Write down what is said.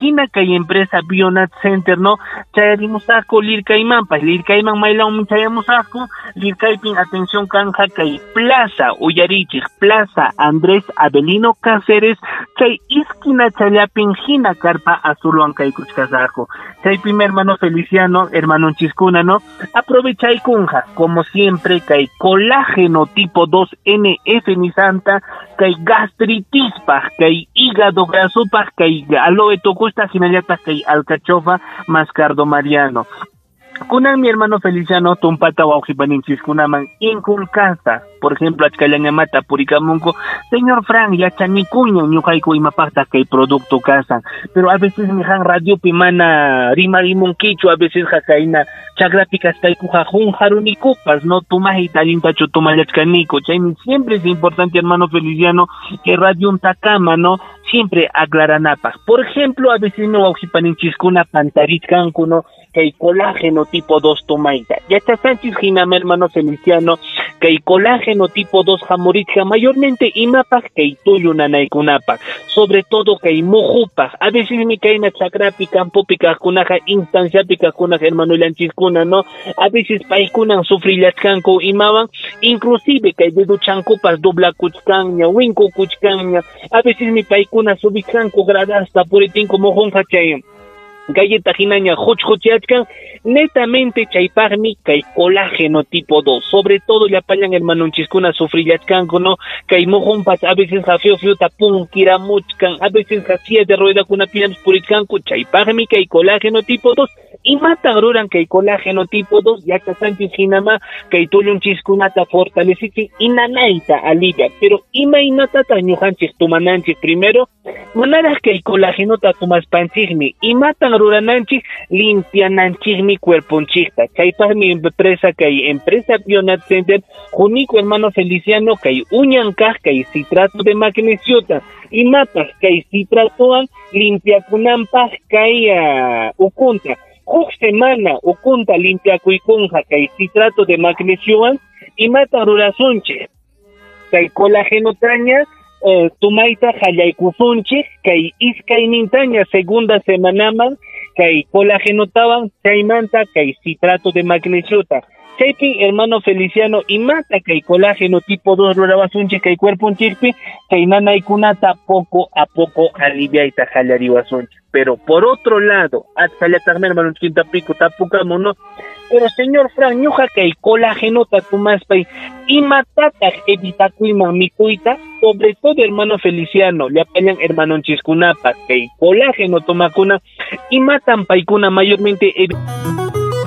Hina kay empresa Bionat Center, ¿no? Chayarimusaqku Lircaymanpas, Lircayman maylawmi chayamusaqku, Lircaypin atención kanja kay Plaza Uyarichik, Plaza Andrés Avelino Cáceres, chay esquina challapin hina carpa azulwan kaykuchkasaqku. Chaypimi hermano Feliciano, hermano Chiskuna, ¿no? Aprovechaykunja, como siempre, kay colágeno tipo 2NF ni santa, kay gastritispaj, kay hígado grasopaj, kay aloe tokusta, hinallataq kay alcachofa mascardo mariano. Kunan mi hermano Feliciano tumpata wawqipaninchikkunaman inculcasa, por ejemplo, achkallañamata purikamunku, señor Frank, yachanikuña ñuqayku imapaqtaq kay producto kasan, pero a veces mijan radiopi mana rimarimunkichu, a veces kayna chakrapi kaspaykuqa qunqarunikupas, no tumajita allintachu tumallachkaniku, chaymi siempre es importante, hermano Feliciano, que radiontakama, no, siempre aclaranapaq. Por ejemplo, a veces no wawqipaninchiskuna pantarichkanku, no, kay colágeno tipo 2 tomaita. Yachasqanchis hinama, hermano Feliciano, kay colágeno tipo 2 hamurichka mayormente imapaq kay tullu nanaykunapaq, sobre todo kay muhupaq. A veces mi kayna chakrapi, campopi kaqkunaqa, instanciapi kaqkunaqa, hermano llanchiskuna, no, a veces paykunan sufrillachkanku imawan, inclusive kay deduchankupas doblakuchkanña, winkukuchkanña, a veces mi paykuna subichkanku gradasta puritinko mujunqa chay galleta hinaña huchhuchiachkan, netamente chaypaqmi kay colágeno tipo 2, sobre todo llapallan hermanonchiskuna sufrillachkanku, no, kay mujunpas a veces fio fiota punkiramuchkan, a veces silla de ruedakunapiñapas purichkanku, chaypaqmi kay colágeno tipo 2. Imatan ruran kay colágeno tipo 2, yachasqanchis hinama kay tullunchiskunata fortalecichin y nanayta alivia, pero imaynatataq ñuqanchik tumananchik primero, manaraq kay colágenota tumaspanchikmi, imatan rurananchik, limpiananchikmi cuerponchikta. Chaypaqmi empresa kay empresa Bionat Center, junico hermano Feliciano kay uñankaq kay citrato de magnesiota, imapaq kay citratowan limpiakunanpaq kay ukunta. Huk semana ukunta limpiakuykunqa kay citrato de magnesiowan, imata rurasunchik kay colágenotaña tumayta qallaykusunchik kay iskaynintaña segunda semanaman kay colágenotawan chaymanta kay citrato de magnesiota. Chaypi hermano Feliciano imata kay colágeno tipo 2 rurawasunchik kay cuerponchikpi kay nanaykunata poco a poco aliviayta qallariwasunchik. Pero por otro lado, achkallataqmi hermano pico tapukamu, no, pero señor Frank, ñuqa kay colágenota tumaspay imatataq evitakuyman mikuyta, sobre todo hermano Feliciano, llapallan hermanonchiskunapa kay colágeno tomakuna imatan paykuna mayormente evitan.